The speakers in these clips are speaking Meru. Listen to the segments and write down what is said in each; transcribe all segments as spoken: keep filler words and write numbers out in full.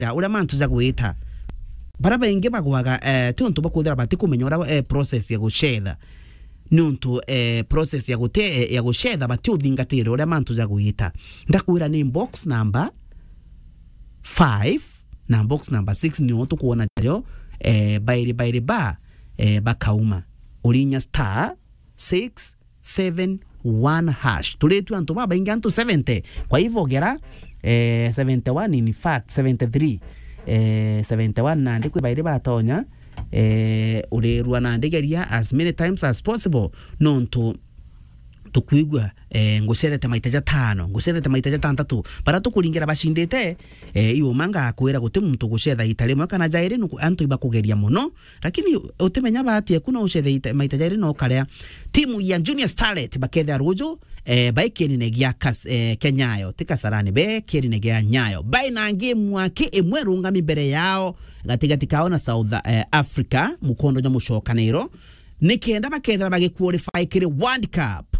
gucetha, uria mantu ja gwita. Bara baingi bagwaga, eh, ti untu bwa kwithira batikumenya uria, eh, process ya gucetha. Ni untu, eh, process ya gute-, eh, ya gucetha batiuthingatira uria mantu ja gwita. Ndakwira ni box number five na box number six nio tukwona jario, eh, bairi bairi ba, eh, bakauma. Urinya star six seven one hash. Turi tu antu babaingi, antu seventy. Kwa hivyo gera, eh, seventy one, in fact, seventy three, eh, seventy one nandi kwi bairi batonya, eh, urirua nandi geria as many times as possible, nontu tukwigua, eh, ngucethete maita jatano, ngucethete maita jatantatu. Bara tukuringira bacindite, eh, iuma ngakwira guti muntu gucetha ita rimwe kana jairi, nuku-, antu ibakugeria mono, lakini utimenya bahati eku no ucethe ita-, maita jairi no ukarea. Timu ya Junior Starlet bakethea ruju, eh, bai kienine gia Kas-, eh, kia Nyayo, ti Kasarani, be kienine gia Nyayo. Bai na game wake imwe rungami mbere yao, gatigati kao na South, eh, Africa, mukondo jwa mucokaniro. Nikenda bakethira bagiqualify kiri World Cup.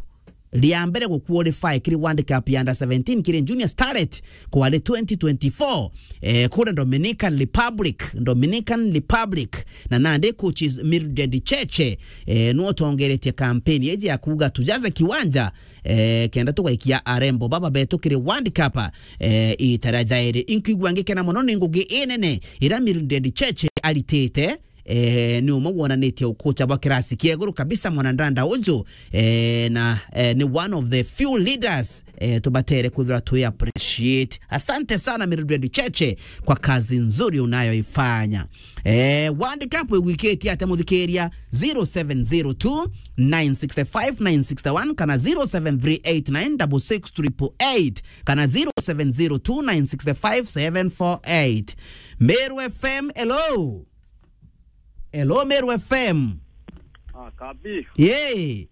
Ria mbere guqualify kiri World Cup ya under seventeen kiri Junior Starlet kwari twenty twenty-four, eh, kuria Dominican Republic, Dominican Republic. Na nandi coaches Mildred Cheche, eh, nwe utongeretie campaign iji ya kuuga tujaze kiwanja, eh, kenda tugaikia arembo baba betu kiri World Cup, eh, ita ria jairi. Inkwigua ngikena mono ni ngugi inene iria Mildred Cheche aritite, eh, ni umwe wonanitie ukucha bwa kirasi kia iguru kabisa, mwanandanda uju, eh, na, eh, ni one of the few leaders, eh, tubatere kwithirwa twi appreciate. Asante sana Mildred Cheche kwa kazi nzuri unayoifanya. Eh, World Cup igwikitie atia muthikiria? Zero seven zero two nine six five nine six one kana zero seven three eight nine six six triple eight kana zero seven zero two nine six five seven four eight. Meru F M, hello. Hello, Meru F M. Ah, Kabi. Yee.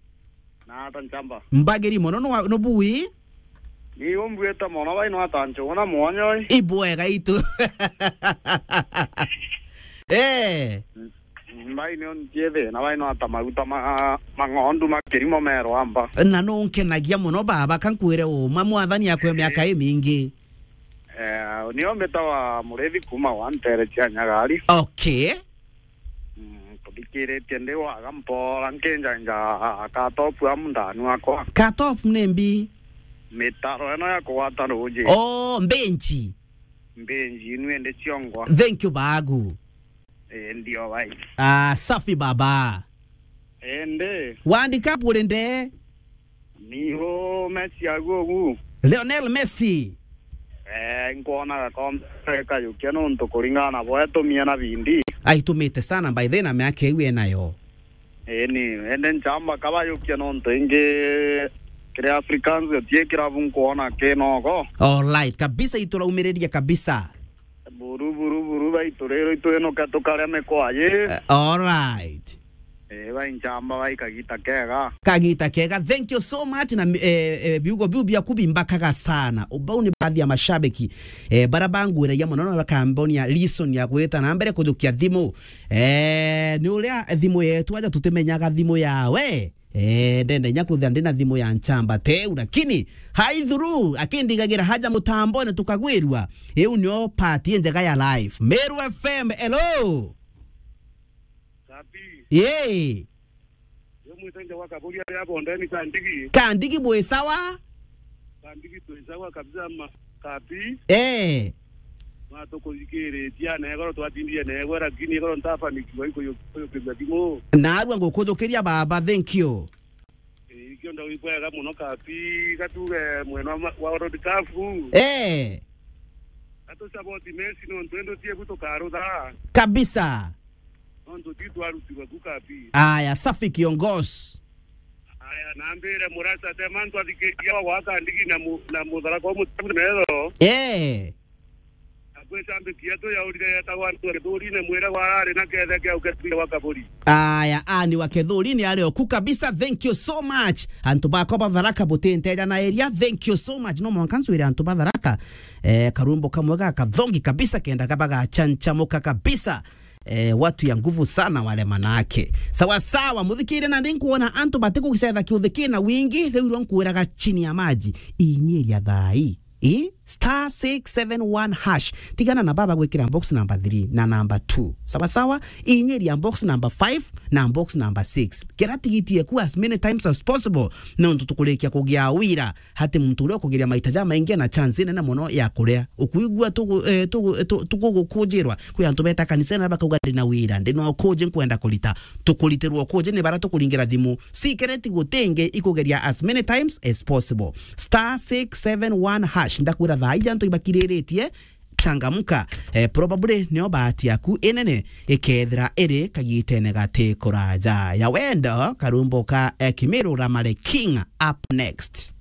Na ata nchamba. Mbagiri mono, no, no bui? Ni umbuite mono, bai no ata nchuna mwonyo oi. Ibwega itu. Eh. Mbai ni untiethe, na bai no ata maguta ma, ma ng'ondu ma kirimo merwa mba. Na nunkenagia mono baba, kankwire uma, mwathani akwe miaka imingi. Eh, nio mbitawa Murithi kuma wa Ntere cia Nyagari. Okay. Mm, kuthikiritie ndi waga mpora nkinjanja Katopu amu ndani wakwa. Katopu ni mbi? Mitaro ino ya kugwata ruji. Oh, mbenji. Mbenji, inu indi ciongwa. Thank you, bagu. Eh, ndio bai. Ah, safi baba. Ende. World Cup uri nde? Ni u Messi agu ugu. Lionel Messi. Eh, nkwona gakombe kayukia nontu kuringana na bo etumie na bindi. Aitumite sana by then na miaka iu enayo. Eh, ni, ende nchamba kabayukia nontu ingi kiri Africans utie kirabu nkwona kinoko. All right, kabisa ituraumiriria kabisa. Buru, buru, buru, baitu rero itwinuke tukaria mikwa yi. Eh, all right. Eh, bai nchamba bai kagita kega. Kagita kega. Thank you so much na, eh, eh, biugo biu biaku bimbakaga sana. Ubau ni baadhi ya mashabiki, eh, bara bangwiragia mono na bakambonia reason ya gwita na mbere kujukia thimu. Eh, ni uria thimu yetu aja tutimenyaga thimu yawe. Eh, ndenda inya kwithira ndina thimu ya nchamba teu, lakini haithuru akindigagira haja mutambone tukagwirua. Iu nio part njega ya life. Meru F M, hello. Sapi. Yee. Yo mwitenge wa Kaburi aria Bondeni Kandigi. Kandigi bwi sawa? Kandigi twi sawa kabisa ma-, Kabi. Eh. Matukuthikiritie na igoro twatindie na igwe, lakini igoro ntafanikiwa ikuyu-, kuyukithia thimu. Narua ngukuthukiria baba, thank you. Eh, ikio ndo ikwega muno Kabi, gatuge mwena wa ma-, wa World Cup. Eh. Gatu support Messi nontu endo tie gutukarutha. Kabisa. Nontu ti twarutirwe ku Kabi. Aya, safi kiongozi. Aya, nambire murasa te mantu athikiria wa gwaka ndigi na mu-, na mutharaka wa mutabu metho. Eh. Akwicambikia tu yaurire yetagwa antu wa Kithurine mwire gwarari na kethe kia ukethire wa Kaburi. Aya, ani wa Kithurine ari oku kabisa. Thank you so much. Antu bakwa ba Tharaka butinteja na eria. Thank you so much. No mwanka ncwire antu ba Tharaka, eh, karumbo kamwe ga kathongi kabisa kenda kaba gachanchamuka kabisa. Eh, watu ya nguvu sana wale manake. Sawa sawa, muthikire na ndi nkuona antu batikucetha kiuthi kina wingi, riu iro nkwiraga chini ya maji. Inyiria thai. I? star six seven one hash. Tigana na baba gwikira box number three na number two. Sawa sawa, inyiria box number five na box number six. Kira tigiti eku as many times as possible, nontu tukurikia kugia wira hati muntu uria ukugeria maita jamaingi na chance nene mono ya kuria. Ukuigua tugu-, eh, tugu-, eh, tu-, tugugukujirwa. Kwi antu beta kanisene bakauga, "Ndi na wira, ndi na ukuji nkwenda kurita." Tukuritirwa ukuji ni bara tukuringira thimu. Sikereti gutingi ikugeria as many times as possible. Star six seven one hash. Ndakwira thaa ija antu ibakiriritie, changamka. Eh, probably nio bahati yaku inene ikethira iri kagitene gati kuraja. Ya wendo, karumbo ka, eh, Kimiru Ramare King up next.